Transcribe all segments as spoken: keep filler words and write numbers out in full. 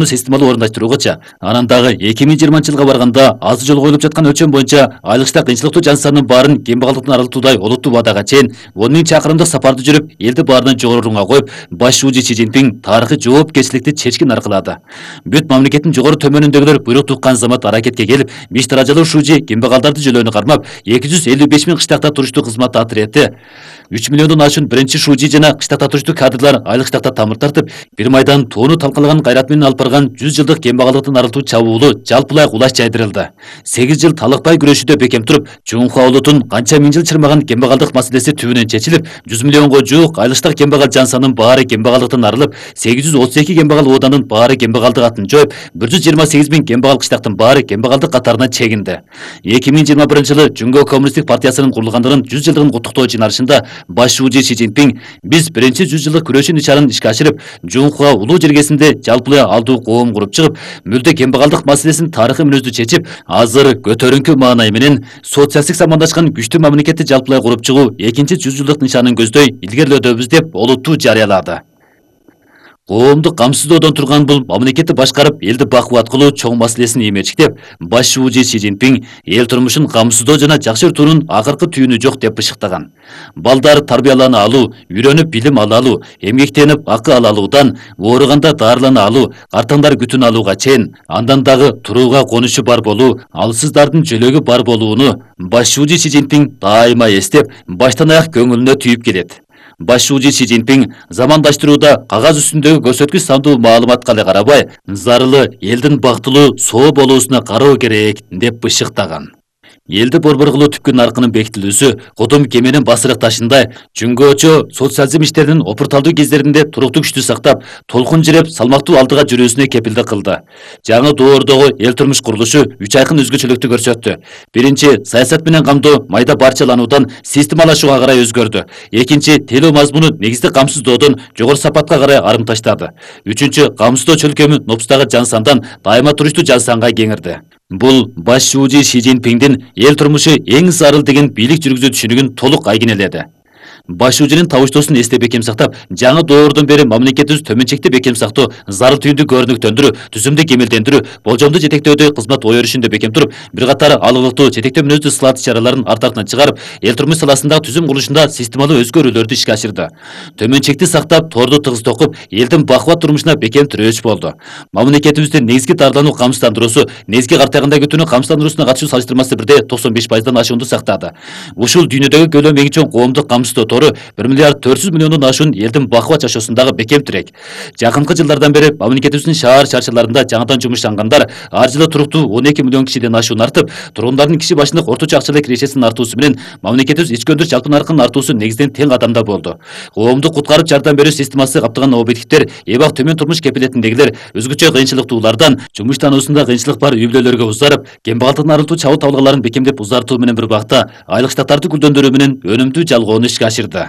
системалуу орундаштыруугача, анан дагы эки миң жыйырманчы жылга барганда азыр жолу коюлуп жаткан өлчөм боюнча айлыкчта кыйынчылыктуу жан санынын баарын кембагалдыктан арылтуудай олуттуу убадага чейин он миң чакырымдык сапарды жүрүп, элди баарынан жогору орунга коюп, баш шуужу Си Цзиньпин тарыхый жоопкерчиликти чечкин аркылады. Бүт мамлекеттин жогору төмөнүндөгүлөр буйрук туккан замат аракетке келип, беш даражалуу шужи кембагалдарды жөлөөнү кармап, эки жүз элүү беш миң кыштакта туруштуу кызмат отрети, үч миллиондон ашуун биринчи шужи жана кыштакта туруштуу кадрлар айлык штакта тамыр тартып, бир майдан тоону талкалаган кайрат менен алып барган жүз жылдык кембагалдыктан арылтуу чабуулу жалпылай кулаш жайдырылды. сегиз жыл талыкпай күрөшүүдө бекем туруп, Чуңхуа улутун канча миң жыл чырмаган кембагалдык маселеси түбүнөн чечилип, жүз миллионго жуук айлыктагы кембагал жан санынын баары кембагалдыктан арылып, сегиз жүз отуз эки кембагал оодандын баары кембагалдык атын жоюп, бир жүз жыйырма сегиз миң кембагал кыштактын баары кембагалдык катарына чегинди. эки миң жыйырма биринчи жылы Жүнгө коммунисттик партиясынын курулгандыгынын жүз жылдыгын куттуктоо жыйналышында баш шужи Си Цзиньпин биз биринчи жүз жылдык күрөшүү нишанын ишке ашырып, Чуңхуа улуу жергесинде жалпылай алдуу коом куруп чыгып, мүлдө кембагалдык маселесин тарыхый мүнөздүү чечип, азыр көтөрүңкү маанай менен социалисттик самандашкан күчтүү мамлекетти жалпылай куруп чыгуу экинчи жүз жылдык нишанын көздөй илгерилөөдөбүз деп олуттуу жарыялады. Коомду камсыздоодон турган бул мамлекетти башкарып, элди бакубат кылуу чоң маселесин эмечиктеп, баш шужи Си Цзиньпин эл турмушун камсыздоо жана жакшыртуунун акыркы түйүнү жок деп бышыктаган. Балдар тарбиялана алуу, үйрөнүп билим ала алуу, эмгектенип акы ала алуудан ооруганда дарылана алуу, картаңдар күтүн алууга чейин, андан дагы турууга конушу бар болуу, алсыздардын жөлөгү бар болууну баш шужи Си Цзиньпин дайыма эстеп, баштан аяк көңүлүнө түйүп келет. Баш шужи Си Цзиньпин замандаштырууда кагаз үстүндөгү көрсөткүч сандуу маалыматка эле карабай, зарылы элдин бактылуу соо болуусуна кароо керек деп бышыктаган. Элди борбор кылуу түпкү наркынын бекитилүүсү Кудум кеменин басырык ташындай Чүңгөчө социализм иштеринин опурталдуу кездеринде туруктуу күчтү сактап, толкун жиреп салмактуу алдыга жүрүүсүнө кепилдик кылды. Жаңы доордогу эл турмуш курулушу үч айкын өзгөчөлүктү көрсөттү. Биринчи, саясат менен камдоо майда барчалануудан системалашууга карай өзгөрдү. Экинчи, тейлөө мазмуну негизди камсыздоодон жогору сапатка карай арым таштады. Үчүнчү, камсыздоо чөлкөмү нопустагы жан сандан дайыма туруштуу жан санга кеңирди. Бул баш шужи Си Цзиньпиндин эл турмушу эң зарыл деген бийлик жүргүзүү түшүнүгүн толук айгинеледи. Баш шужинин табыштоосун эсте бекем сактап, жаңы доордон бери мамлекетибиз төмөнчекти бекем сактоо, зарыл түйүндү көрүнүктөндүрүү, түзүмдү кемелдендирүү, болжомду жетектөөдө кызмат ой өрүшүндө бекем туруп, бир катар алгылыктуу четектөө мүнөздүү ысылат иш-чараларын арт артынан чыгарып, эл турмуш саласындагы түзүм курулушунда системалуу өзгөрүүлөрдү ишке ашырды. Төмөнчекти сактап, торду тыгыз токуп, элдин бакубат турмушуна бекем тирөөч болду. Мамлекетибиздин негизги дарылануу камсыздандыруусу, негизги картагында күтүүнүн камсыздандыруусуна катышуу салыштырмасы бирде токсон беш пайыздан ашуунду сактады. Ушул дүйнөдөгү көлөм эң чоң коомдук камсыздоо бир миллиард төрт жүз миллиондон ашуун элдин бакубат жашоосундагы бекем тирек. Жакынкы жылдардан бери мамлекетибиздин шаар чарчаларында жаңадан жумуштангандар ар жылы туруктуу он эки миллион кишиден ашуун артып, тургундардын киши башындык орточо акчалык кирешесинин артуусу менен мамлекетибиз ички өндүрүш жалпы наркынын артуусу негизден тең кадамда болду. Коомду куткарып жардам берүү системасы каптаган объективдер, эбак төмөн турмуш кепилетиндегилер өзгөчө кыйынчылыктуулардан, жумуштануусунда кыйынчылык бар үй бүлөлөргө узарып, кембагалдыктан арылтуу чабуу табылгаларын бекемдеп узартуу менен бир бакта айлык штаттарды гүлдөндүрүү менен өнүмдүү жалгоону ишке ашырды.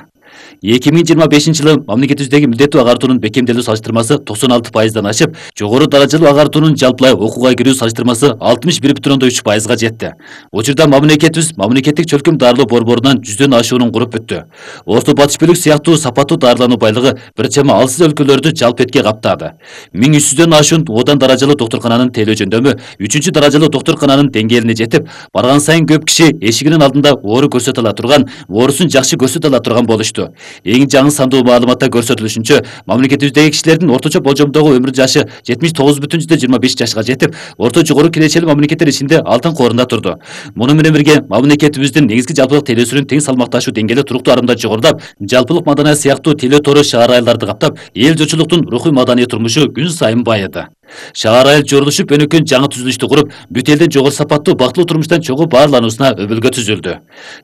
эки миң жыйырма бешинчи жылы мамлекетибиздеги милдеттүү агартуунун бекемделүү салыштырмасы токсон алты пайыздан ашып, жогору даражалуу агартуунун жалпылай окууга кирүү салыштырмасы алтымыш бир бүтүн ондон үч пайызга жетти. Учурда мамлекетибиз мамлекеттик чөлкөм дарылоо борборунан жүздөн ашуунун куруп бүттү. Орто батыш бөлүк сыяктуу сапаттуу дарылануу байлыгы бир чама алсыз өлкөлөрдү жалп этке каптады. миң үч жүздөн ашуун одан даражалуу доктуркананын тейлөө жөндөмү үчүнчү даражалуу доктуркананын деңгээлине жетип, барган сайын көп киши эшигинин алдында оору көрсөтө ала турган, оорусун жакшы көрсөтө ала турган болушту. Эң жаңы сандуу маалыматта көрсөтүлүшүнчө, мамлекетибиздеги кишилердин орточо болжомдогу өмүр жашы жетимиш тогуз бүтүн жүздөн жыйырма беш жашка жетип, орто жогору кирешелүү мамлекеттер ичинде алтын корунда турду. Муну менен бирге мамлекетибиздин негизги жалпылык тейлөөсүнүн тең салмакташуу деңгээли туруктуу арымда жогорулап, жалпылык маданият сыяктуу тейлөө тору шаар айылдарды каптап, эл журтчулуктун рухий маданий турмушу күн сайын байыды. Шаар айыл жорулушуп өнүккөн жаңы түзүлүштү куруп, бүт элдин жогору сапаттуу бактылуу турмуштан чогуу баарлануусуна өбөлгө түзүлдү.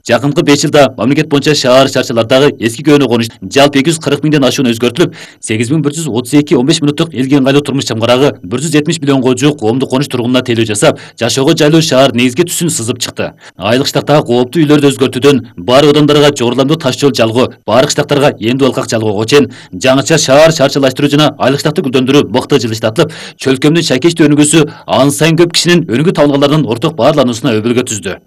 Жакынкы беш жылда мамлекет боюнча шаар чарчалардагы эски көөнү конуш жалпы эки жүз кырк миңден ашуун өзгөртүлүп, сегиз миң бир жүз отуз эки он беш мүнөттүк элге ыңгайлуу турмуш чамгарагы бир жүз жетимиш миллионго жуук коомдук конуш тургунуна тейлөө жасап, жашоого жайлуу шаар негизги түсүн сызып чыкты. Айлык штаттагы кооптуу үйлөрдү өзгөртүүдөн баары одандарга жогоруламдуу таш жол жалгоо, баары кыштактарга эндүү алкак жалгоого чейин жаңыча шаар чарчалаштыруу жана айлык штатты гүлдөндүрүү мыкты жылыштатылып, чөлкөмдүн шайкечтүү өнүгүүсү ан сайын көп кишинин өнүгүү табылгаларынын орток баарлануусуна өбөлгө түздү.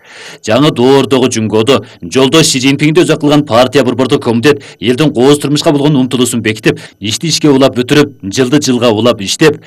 Жаңы доордогу Жүнгөдө жолдош Си Цзиньпинди өзөк кылган партия борбордук комитет элдин кооз турмушка болгон умтулуусун бекитип, ишти ишке улап бүтүрүп, жылды жылга улап иштеп,